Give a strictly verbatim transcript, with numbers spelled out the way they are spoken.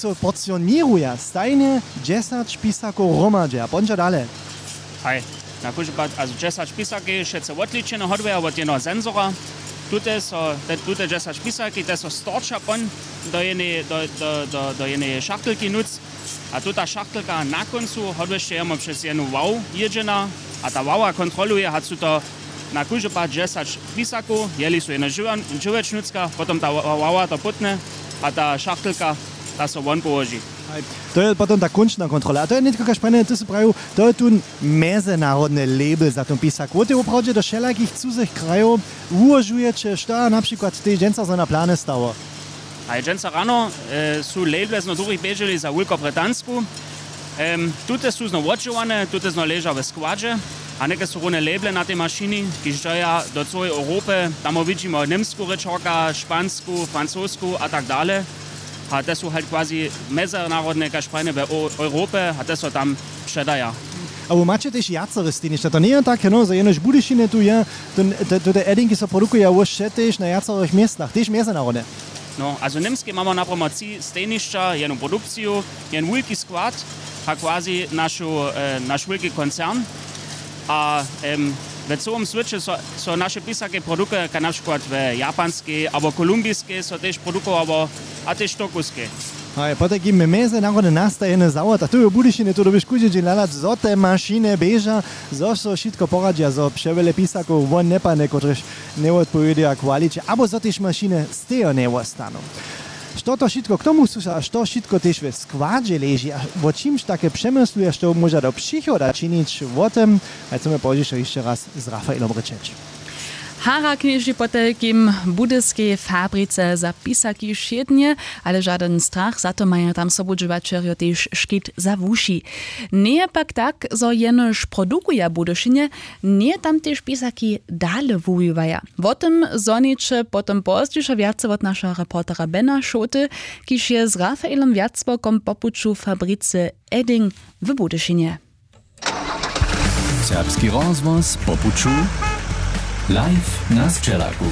So porcioněruja stajnje dźesać pisakow hromadźe a pon dźa dale. Haj, na kóždy pad, a dźesać pisaki wšetcy wotličene hodrja wot jednoho sensora. Tute so te tute dźesać pisaki te so storča pon do jenej do do do do jenej šachtelki nóc. A tuta šachtelka na kóncu hodrješe jemo přez jednu wow jědźena. A ta wawa kontroluje hač su to na kóždy pad dźesać pisakow jeli su jeno dźěłečnutska potom ta wawa to pótne. A ta šachtelka ta so won połoži. To je potom ta kónčna kontrola a to je nětko kaž prajnje ty sy prajił, to je tón mjezynarodny label za tón pisak wót je woprawdźe do wšelakich cuzych krajow. Wułožujeće što a na přikład tež dźensa zo na plany stało? A je dźensa rano su label zno druhich běželi za wulkobrytansku. Tute su zno wotdźěłane tute zno leža we składźe. A něke su runje label na tej mašini kiž dźeja do cyłej europy. Tamo widźimy němsku rěčorka špansku francosku a tak dale. A te su halt quasi mjezynarodne kaž prajnje we europy a te so tam předaja. A wy maće tež wjacore stejnišća to njeje tak heno zo jenož w budyšinje tu je. Tute edinki so produkuja wóš wše tež na wjacorych městnach tež mjezynarodne. No a zo němskej mamy napramo tři stejnišća jednu produkciju, jeden wulki skład, a quasi našu naš wulki koncern. A we cyłym swěće so naše pisake produkuje kaj na přikład we japanskej abo kolumbiskej so tež produkowało. A tež tokuskej. Haj potajkim mjezynarodne nastajene zawod a tu je w budyšinje tu dyrbiš kóždy dźeń hladac zo te mašiny běža, zo so wšitko poradźa zo přewjele pisakow won njepadne kotryž njewotpowěduja kwaliće abo zo tež mašiny stejo njewostanu. Što to wšitko k tomu słuša a što wšitko tež we składźe leži a wo čimž take přemysluja što móža do přichoda činić wo tym, haj chcemy pozdźišo hišće raz z rafaelom rěčeć. Hara knježi potajkim w budyskej fabrice za pisaki wšědnje, ale žadyn strach za to maja tam sobudźěłaćerjo tež škit za wuši. Njeje pak tak zo jenož produkuja w budyšinje, njeje tam tež pisaki dale wuwiwaja. Wo tym zhoniće potom pozdźišo wjace wot našeho reportera bena šołty, kiž je z rafaelom wjacborkom po puću w fabricy edding w budyšinje. Serbski rozhłos po puću, live na sćelaku.